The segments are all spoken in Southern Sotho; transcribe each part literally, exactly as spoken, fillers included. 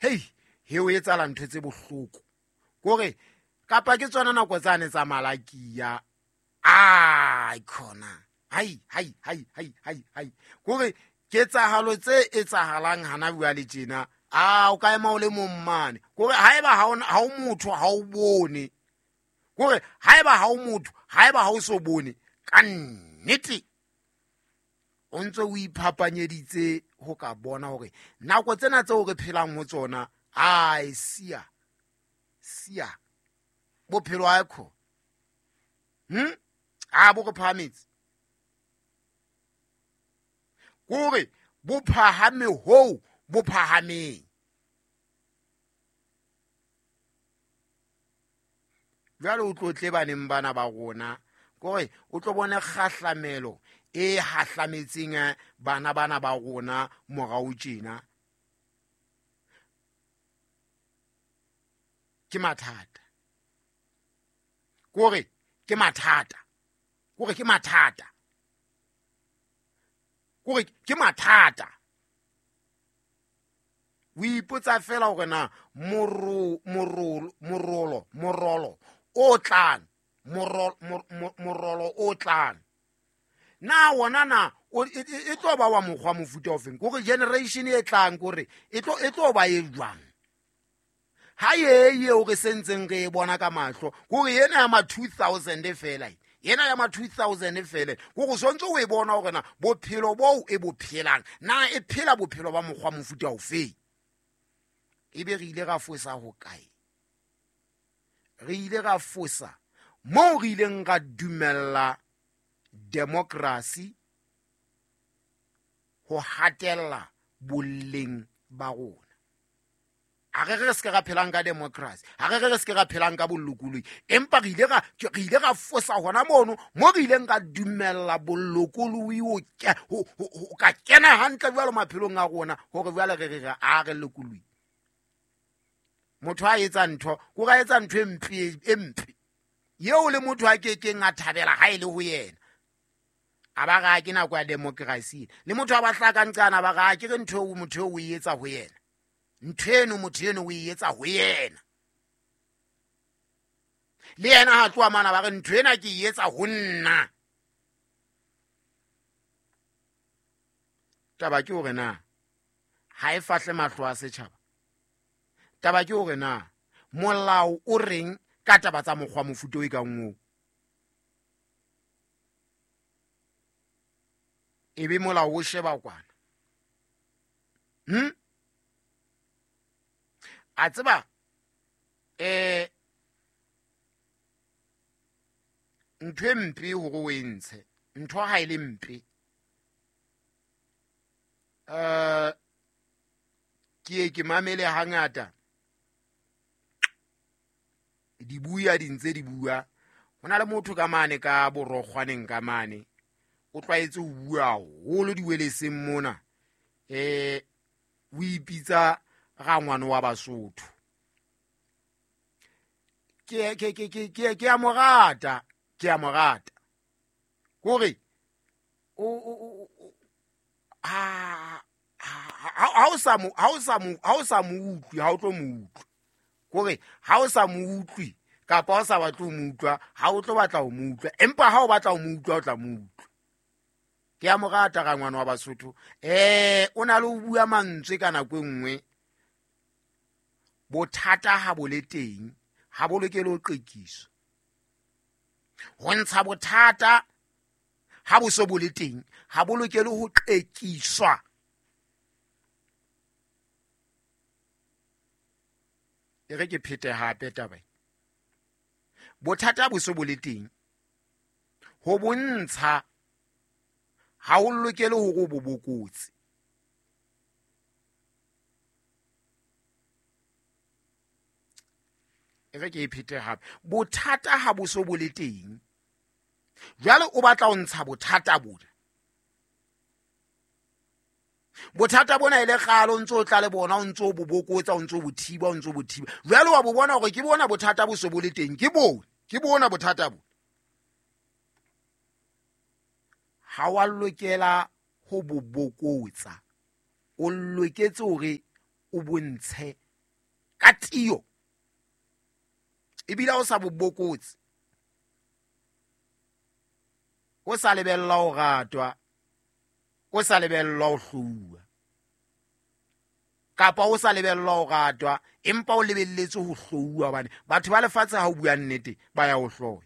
Hei, he o etsahala ntho tse bohloko. Kore kapa ke tsona nako tsane tsa Malakia. Ai khona. Hai hai hai hai hai hai. Kore ketsahalo tse etsahalang hana jwale tjena. Ah, o ka ema o le mong mane. Kore haeba ha o ha o motho ha o bone. Kore haeba ha o motho, haeba ha o so bone ka nnete o ntse o iphapanyeditse ho ka bona hore nako tsena tseo re phelang ho tsona, ai sia sia bophelo ha kho. Hm? A bo re phahametse. Kore bo phahame hoo bo phahameng. Jwale o tlo tle baneng bana ba rona, kore o tlo bone kgahlamelo e hahlametseng bana bana ba rona morao tjena. Ke mathata. Kore ke mathata. Kore ke mathata. Kore ke mathata. O ipotsa fela hore na moro morolo morolo morolo o tlang morolo morolo o tlang na wona na e tlo ba wa mokgwa mofuta o feng? Kore generation e tlang kore e tlo e tlo ba e jwang? Ha ye ye o re sentseng re e bona ka mahlo kore yena ya ma two thousand fela yena ya ma two thousand fela kore sontse o e bona hore na bophelo bo e bo phelang na e phela bophelo ba mokgwa mofuta o feng? Ebe re ile ra fosa ho kae? Re ile ra fosa moo re ileng ra dumella democracy ho hatella boleng ba rona. A re re se ka phelang ka democracy, a re re se ka phelang ka bolokolohi, empa re ile ra re ile ra fosa hona mono mo re ileng ra dumella bolokolohi ho ho ka kena hantle jwalo maphelong a rona hore jwale re re re a re lokolohi. Motho a etsa ntho, ko ra etsa ntho e mpe e mpe yeo le motho a kekeng a thabela ha e le ho yena. A ba ra ke nako ya democracy le motho a ba hlaka nqana ba ra ke re ntho eo motho o e etsa ho yena. Ntho eno motho eno o e etsa ho yena. Le yena ha tloha mana ba re ntho ena ke e etsa ho nna. Taba ke hore na ha e fahle mahlo a setjhaba. Taba ke hore na molao o reng ka taba tsa mokgwa mofuta o e kang oo? Ebe molao o sheba kwana. Hm? A tseba eh ntho e mpe hore o e ntshe, ntho ha e le mpe. Eh ke ke mamele hangata di bua di ntse di bua. Ho na le motho ka mane ka borokgwaneng ka mane o tlwaetse ho bua haholo diweleseng mona. Eh o ipitsa rangwane wa Basotho. Ke ke ke ke ke ke a mo rata, ke a mo rata. Kore o o ha ha o sa mo ha o sa mo ha o sa mo utlwi, ha o tlo mo utlwa. Kore ha o sa mo utlwi kapa o sa batle ho mo utlwa, ha o tlo batla ho mo utlwa, empa ha o batla ho mo utlwa o tla mo utlwa. Ke a mo rata rangwane wa Basotho. Eh o na le ho bua mantswe ka nako e nngwe. Bothata ha bo le teng, ha bo lokele ho qekiswa. Ho ntsha bothata ha bo so bo le teng, ha bo lokele ho qekiswa. E re ke phete hape taba. Bothata bo so bo le teng, ho bontsha ha o lokele hore o bo bokotse. E re ke e phete hape. Bothata ha bo so bo le teng, jwale o batla ho ntsha bothata bona. Bothata bona e le kgale o ntso o tla le bona, o ntso o bo bokotsa, o ntso o bo thiba, o ntso o bo thiba. Jwale wa bo bona hore ke bona bothata bo so bo le teng, ke bona, ke bona bothata bo. Ha wa lokela ho bo bokotsa, o loketse hore o bontshe Ka tiyo. Ebile o sa bo bokotse. O sa lebella o ratwa. O sa lebella o hlouwa. Kapa o sa lebella o ratwa, empa o lebelletse ho hlouwa hobane batho ba lefatshe ha o bua nnete ba ya o hloya.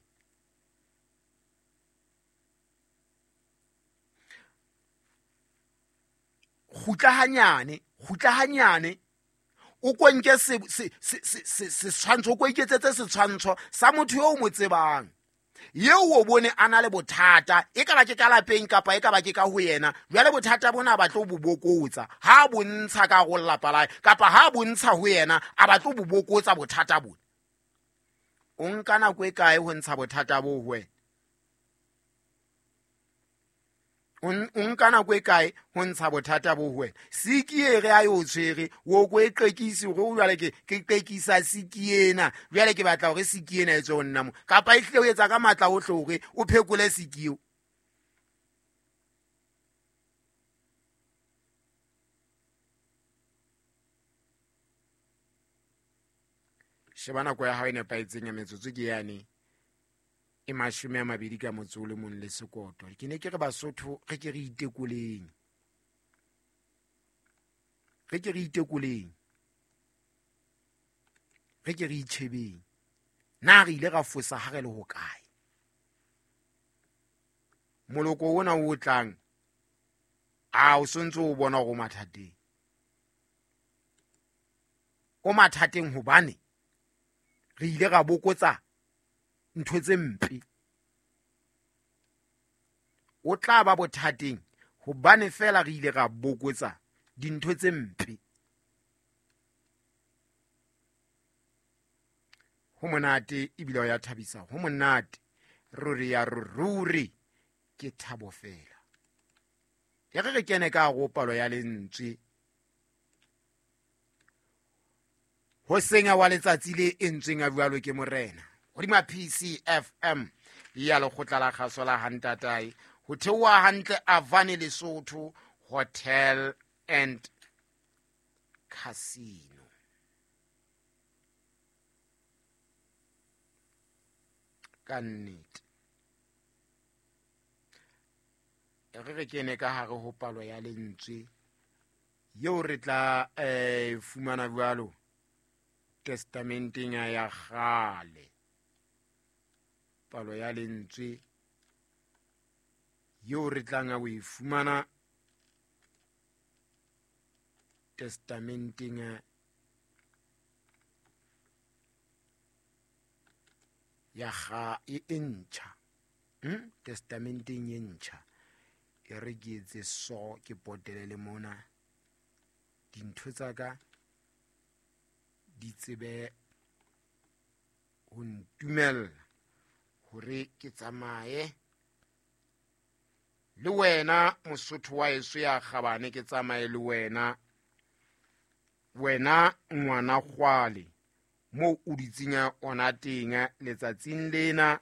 Kgutla hanyane, kgutla hanyane. O ko nke se se se setshwantsho, o ko iketsetse setshwantsho sa motho eo o mo tsebang. Eo o bone a na le bothata, e ka ba ke ka lapeng kapa e ka ba ke ka ho yena. Jwale bothata bona ba tlo bo bokotsa. Ha bontsha ka go lelapa la hae kapa ha bontsha ho yena, a ba tlo bo bokotsa bothata bona. O nka nako e kae ho ntsha bothata bo ho wena? O nka nako e kae ho ntsha bothata bo ho wena? Siki e re a yo tshwere, o ko e qekise hore o jwale ke ke qekisa siki ena. Jwale ke batla hore siki ena e tswe ho nna mo. Kapa e hlile o etsa ka matla ohle hore o phekole siki eo. Sheba nako ya hao e nepahetseng ya metsotso ke yane e mashome a mabedi ka motso o le mong le sekoto. Ke ne ke re Basotho re ke re itekoleng. Re ke re itekoleng. Re ke re itjhebeng. Na re ile ra fosa ha re le hokae? Moloko ona o tlang, a o sontse o bona hore o mathateng. O mathateng hobane re ile ra bokotsa ntho tse mpe. O tla ba bothateng hobane fela re ile ra bokotsa dintho tse mpe. Ho monate ebile o ya thabisa, ho monate ruri ya ruri ke thabo fela. E re re kene ka go palo ya lentswe ho senya wa letsatsi le entsweng a jwalo ke morena. Hodima P C F M ya lekgotla la kgaso la Hantatae ho theoha hantle Avane Lesotho Hotel and Casino. Ka nnete re re kene ka hare ho palo ya lentswe eo re tla eh fumana jwalo testamenteng ya kgale. Palo ya lentswe eo re tlang ho e fumana testamenteng ya ga e ntjha. Hm testamenteng e ntjha. E re ke etse so ke potele le mona dintho tsa ka di tsebe ho ntumella hore ke tsamaye le wena Mosotho wa eso ya kgabane, ke tsamaye le wena wena ngwana kgwale mo o dutseng ona teng letsatsing lena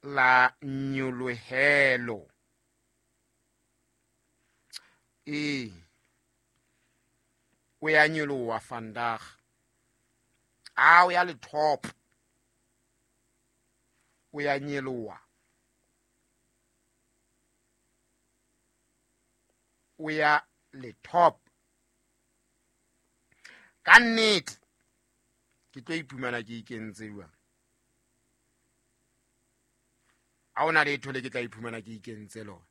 la nyolohelo. E o ya nyoloha vandag, a o ya le top, o ya nyoloha, o ya le top. Ka nnete ke tlo iphumana ke ikentse jwang? Ha hona letho le ke tla iphumana ke ikentse lona.